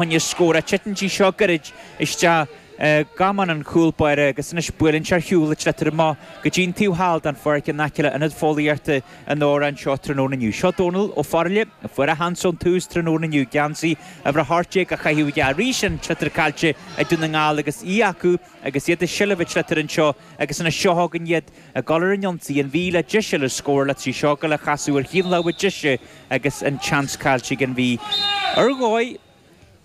Choinne scór ach titeann sí seo gairid isteach i gcamán an chúl báire agus anois buaileann sé ar shiúl an tsliotar amach go dtí an taobh thall den pháirc in aice le Ionad Fóillíochta an Óráin anseo tráthnóna inniu. Seo Dónal Ó Fearghaile a fuair a sheans ón tús tráthnóna inniu, geansaí uimhir 18 á chaitheamh aige arís an tsliotar caillte ag Dún na nGall agus í acu agus iad i seilbh an tsliotair anseo agus anois seo chugainn iad ag dul ar an ionsaí, an Mhí le deis eile scórála tá sí seo ag dul a chasadh ar thaobh na láimhe deise agus an tseans caillte ag an Mhí. Ar dhóigh,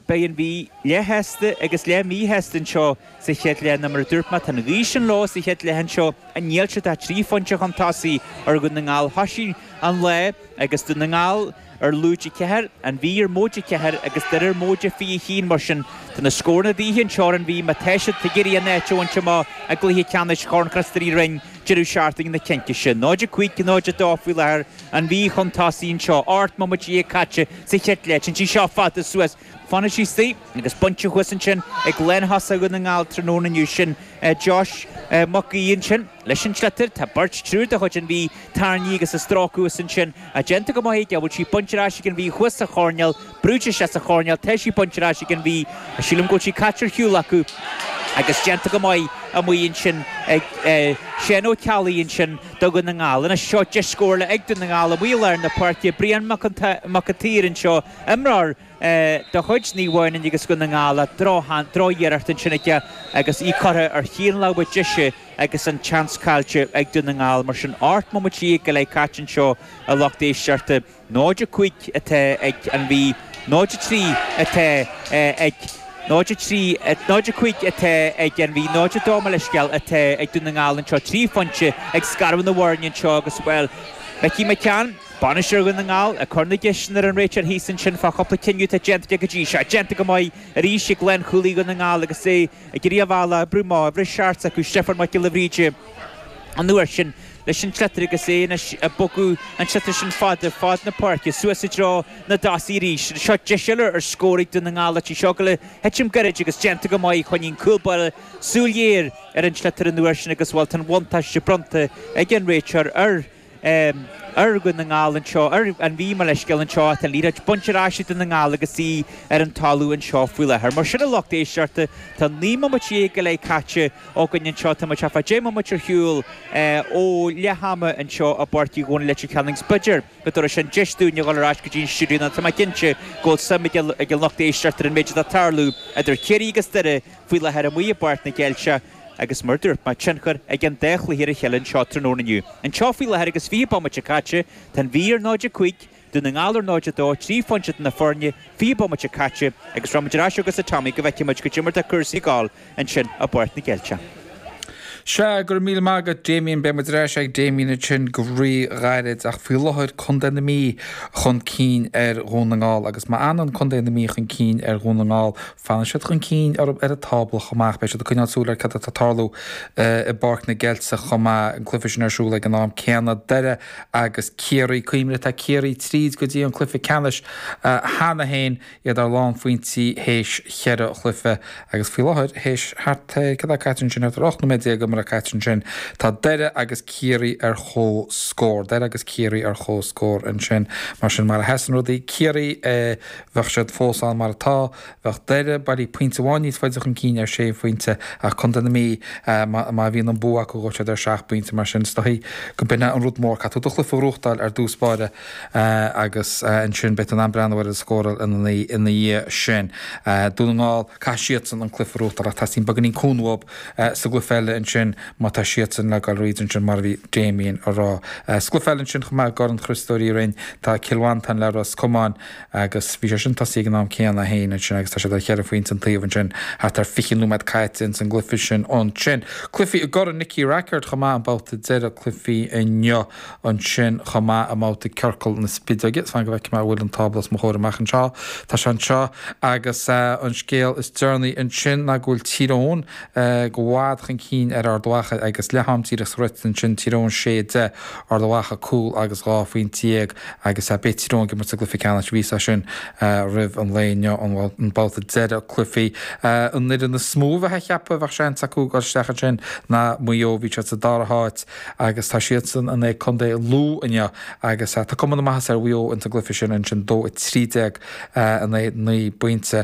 beidh an Mhí leath-shásta agus leath-mhíshásta anseo sa chéad leath nó mar a dúirt mé, tá an ghaoth sin leo sa chéad leath anseo, níl siad ach 3 phointe chun tosaigh ar Dhún na nGall. Thoisigh an lá agus Dún na nGall ar lúide 4, an Mhí ar móide 4 agus Doire ar móide 21. Mar sin, tá na scóranna de dhíth anseo ar an Mhí má tá siad ag iarraidh a n-áit a bhaint amach i gcluiche ceannais Chorn Chríost Rí Roinn deireadh seachtaine na Cinnte sin. 0-5, 0-2 faoi láthair, an Mhí chun tosaigh anseo. 18 mbomaite caite sa chéad leath. Téann sí seo fada suas. Fanann sí istigh agus bainte thuas ansin ag lánthosach Dhún na nGall tráthnóna inniu. Sin Josh Mac Aoidh ansin leis an tsliotar. Tá beirt, triúr de chuid an Mhí tarraingthe agus á stróiceadh thuas ansin. Déanta go maith aige. Bhfuil sí bainte ar ais ag an Mhí thuas sa choirnéal. Brúite isteach sa choirnéal. Tá sí bainte ar ais ag an Mhí. Sílim go bhfuil sí caite ar shiúl acu agus déanta go maith amuigh ansin ag Seán Ó Ceallaigh ansin do Dhún na nGall. Anois seo deis scórála ag Dún na nGall amuigh i lár na páirce. Brian Mac an tSaoir anseo, imreoir de chuid Naomh Adhamhnáin agus Dhún na nGall. Drochiarracht ansin aige agus í curtha ar thaobh na láimhe deise agus an tseans caillte ag Dún na nGall. Mar sin, 18 mbomaite go leith caite anseo a lucht éisteachta. 0-5 atá ag an Mhí, 0-3 atá ag 0-3, 0-5 atá ag an Mhí, 0-2 mo leithscéal atá ag Dún na nGall anseo, 3 phointe ag scaradh na bhfoirne anseo agus, bhuel, Mickey McCann, bainisteoir Dhún na nGall, ag cur na gceisteanna ar an réiteoir thíos ansin fá chúpla cinneadh atá déanta aige go dtí seo. Déanta go maith arís ag lánchúlaí Dhún na nGall agus é ag iarraidh a bhealach a oibriú amach, uimhir 7 s'acu, Stiofán Mac Giolla Bhríde, an uair sin leis an tsliotar agus é anois ag bogadh an tsliotar sin fada fad na páirce suas i dtreo na dtosaithe arís. Seo deis eile ar scór ag Dún na nGall tá sí seo ag dul a thitim gairid agus déanta go maith choinnigh an cúl báire súil ghéar ar an tsliotar an uair sin agus bhuel tá an bhuntáiste bronnta ag an réiteoir ar ar Dhún na nGall anseo, ar an Mhí, mo leithscéal, anseo tá an liathróid bainte ar ais ag Dún na nGall agus í ar an talamh anseo faoi láthair. Mar sin a lucht éisteachta, tá 19 mbomaite go leith caite againn anseo, tá muid thart fá 10 mbomaite ar shiúl ó leath ama anseo i bPáirc Uí Dhónaill Leitir Ceanainn agus b'fhéidir go dtabharfaidh sin deis dúinn a dhul ar ais go dtí an stiúideo nó tá mé cinnte go bhfuil suim ag an lucht éisteachta ar an méid atá ag tarlú idir Ciarraí agus Doire faoi láthair amuigh i bPáirc na gCeilteach. Agus mar a dúirt mé, tionchar ag an dá chluiche ar a chéile anseo tráthnóna inniu. Anseo faoi láthair agus 20 bomaite caite, tá an Mhí ar 0-5, Dún na nGall ar 0-2, 3 phointe idir na foirne, 20 bomaite caite, agus raghaimid ar ais chugatsa Tommy go bhfeicfidh muid goidé mar atá cúrsaí ag gabháil ansin i bPáirc na gCeilteach. Sea, go raibh míle maith agat, Damien. Beidh muid ar ais ag Damien ansin go rí-ghairid, ach faoi láthair, Contae na Mí chun cinn ar Dhún na nGall. Agus má fhanann Contae na Mí chun cinn ar Dhún na nGall, Fanann siad chun cinn orthu ar an tábla chomh maith. Beidh siad ag coinneáil súil ar cad atá ag tarlú i bPáirc na gCeilteach chomh maith, an cluiche sin ar siúl ag an am céanna. Doire agus Ciarraí. Cuimhnigh, tá Ciarraí tríd go dtí an cluiche ceannais cheana féin, iad ar lánphointí théis cheithre chluiche agus faoi láthair théis thart ar, cad atá caite ansin, thart ar 18 nóiméad imeartha caite ansin, tá Doire agus Ciarraí ar comhscór. Doire agus Ciarraí ar comhscór ansin. Mar sin, mar a sheasann rudaí, Ciarraí, Bheadh siad fós ann mar atá. Bheadh Doire bailí pointe amháin níos faide chun cinn ar sé phointe ach Contae na Mí, má bhíonn an bua acu gheobhaidh siad ar sheacht bpointe mar sin is dóichí go b'in é an rud mór. Caithfidh tú do chluiche a ghnóthachtáil ar dtús báire agus ansin beidh tú in ann breathnú ar an scóráil ina dhiaidh sin. Dún na nGall, caithfidh siadsan an cluiche a ghnóthachtáil ach teastaíonn beagáinín cúnamh uathu sa gcluiche eile ansin má tá siadsan le dul thríd ansin mar a bhí Damien a rá. Sa gcluiche eile ansin chomh maith i gCorn Chriostóir Uí Rinn tá Cill Mhantáin le Ros Comáin agus bhí sé sin tosaithe ag an am céanna féin ansin agus tá siad ar cheithre phointe an taobh ansin thart ar 20 nóiméad caite ins an gcluiche sin ansin. Cluichí i gCorn Nicky Rackard chomh maith an babhta deireadh cluichí inniu ansin chomh maith i mbabhta Ciorcal na Spideoige. Fan go bhfeicfidh mé an bhfuil an tábla os mo chomhair amach anseo. Tá sé anseo agus an scéal is deireanaí ansin ná go bhfuil Tír Eoghain i bhfad chun cinn ar Ard. Ard Mhacha agus leath am díreach sroichte ansin, Tír Eoghain 6, 10, Ard Mhacha cúl agus 12 phointe agus beidh Tír Eoghain ag imirt sa gcluiche ceannais. Bhí a fhios sin roimh an lae inniu, an babhta deireadh cluichí. An fhoireann is mó a bheifeá a cheapadh a bheadh seans acu dul isteach ansin ná Maigh Eo, bhí siad sa dara háit agus tá siadsan in aghaidh Contae Lú inniu agus tá cuma na maitheasa ar Mhaigh Eo ins an gcluiche sin ansin 2-13 in aghaidh 9 bpointe.